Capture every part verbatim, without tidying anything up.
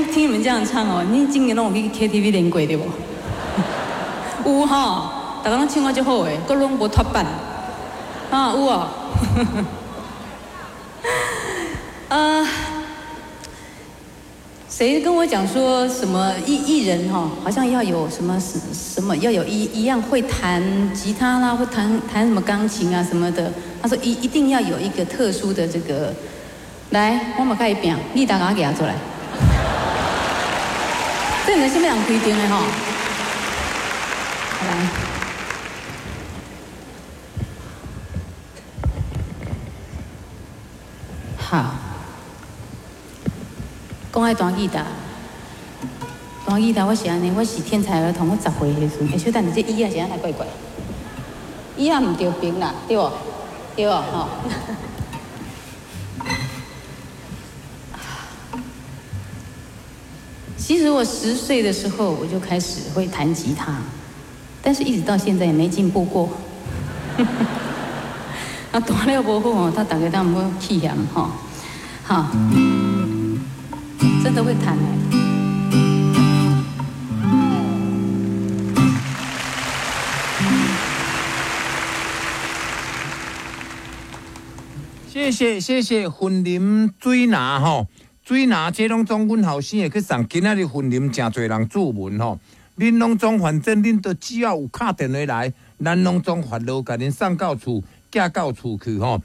聽你們這樣唱哦，你今年攏有去 K T V 練過對無？有吼，逐家攏唱啊足好的，閣攏無脫板。啊，有哦。啊，誰跟我講說什麼藝藝人哈，好像要有什麼什什麼要有一一樣會彈吉他啦，會彈彈什麼鋼琴啊什麼的。他說一一定要有一個特殊的這個。來，我嘛共伊拚，你大家舉出來。這毋知啥物人規定的吼。來。好。講愛彈吉他，彈吉他我是按呢，我是天才兒童，我十歲的時陣，欸，小等下，這椅仔是按怎怪怪？椅仔毋著平啦，對無？對無？吼。其實我十歲的時候我就開始會彈吉他，但是一直到現在也沒進步過。啊，彈了無好吼，他大家都毋好氣嫌吼。好，真的會彈欸。謝謝謝謝，雲林水拿吼，水拿這攏總阮後生會去送。今仔日雲林誠濟人注文吼，恁攏總反正恁都只要有敲電話來，咱攏總發落共恁送到厝，寄到厝去吼。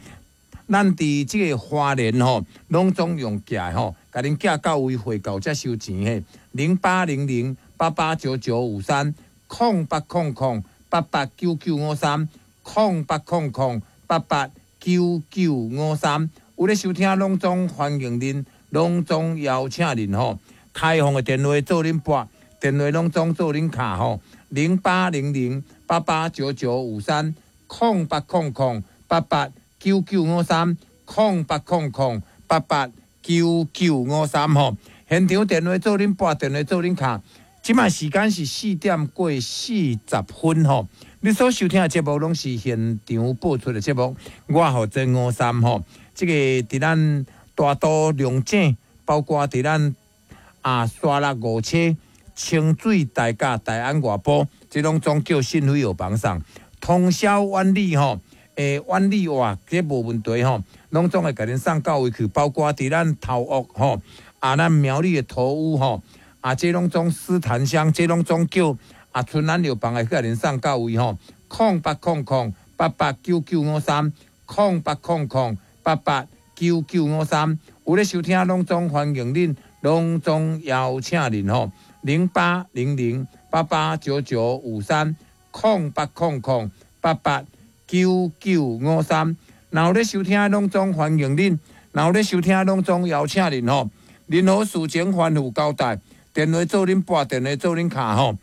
咱佇這個花蓮吼，攏總用寄吼，共恁寄到位匯到才收錢嘿。零八零零八八九九五三，空八空空八八九九五三，空八空空八八九九五三。有咧收聽，攏總歡迎恁，攏總邀請恁吼。開放的電話做恁撥，電話攏總做恁敲吼。零八零零八八九九五三，空八空空八八九九五三，空八空空八八九九五三吼。現場電話做恁撥，電話做恁敲。這擺時間是四點過四十分吼。你所收聽的節目攏是現場播出的節目，我負責五三吼。這個佇咱大肚龍井，包括佇咱啊沙鹿五車、清水大甲、大安外埔，這攏總叫信輝藥房送。通宵萬里吼，欸，萬里哇，這無問題吼，攏總會共恁送到位去，包括佇咱頭屋吼，啊咱苗栗的頭屋吼，啊這攏總獅潭鄉，這攏總叫啊春安藥房會去共恁送到位吼，空八空空八八九九五三，空八空空八八九九五三，有咧收聽，攏總歡迎恁，攏總邀請恁吼，零八零零八八九九五三，空八空空八八九九五三，若有咧收聽，攏總歡迎恁；若有咧收聽，攏總邀請恁吼。任何事情吩咐交代，電話做恁撥，電話做恁敲吼。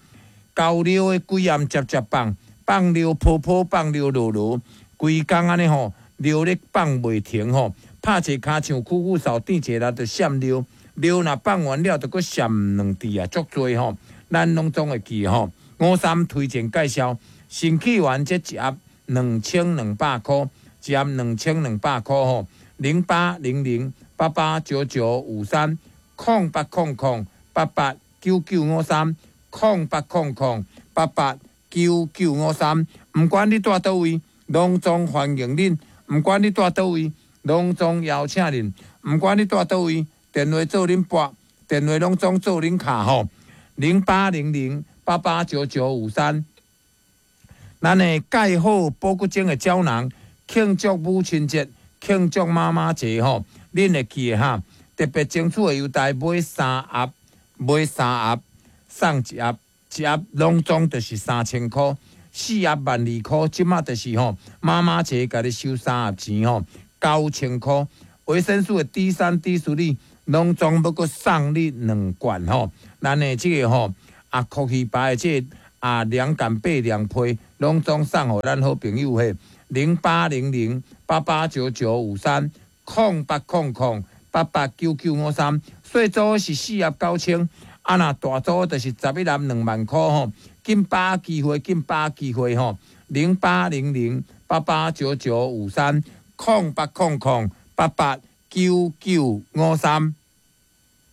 交尿的規暗接接放，放尿泡泡，放尿落落，規工按呢吼，尿咧放袂停吼。拍一跤像久久掃，轉一下就閃尿，尿若放完了，就閣閃兩滴啊，足濟吼。咱攏總會記吼。五三推薦介紹，新氣丸這一盒兩千兩百箍，一盒兩千兩百箍吼，零八零零八八九九五三，空八空空八八九九五三，空八空空八八九九五三。毋管你住佗位，攏總歡迎恁；毋管你住佗位，攏總邀請恁；毋管你住佗位，電話做恁撥，電話攏總做恁敲吼，零八零零八八九九五三。咱的蓋好保骨精的膠囊，慶祝母親節，慶祝媽媽節吼，恁會記得哈？特別爭取的優待，買三盒，買三盒送一盒，一盒攏總就是三千箍，四盒萬二箍，這馬就是吼，媽媽節共你收三盒錢吼，九千箍。維生素的 D 三、D 四哩，攏總欲閣送你兩罐吼。咱的這個吼，啊，福氣牌的這個啊，涼感八涼被，攏總送予咱好朋友嘿，零八零零八八九九五三，空八空空八八九九五三。細組是四盒九千，啊若大組就是十一盒兩萬箍吼。緊把握機會，緊把握機會吼，零八零零八八九九五三，空八空空八八九九五三。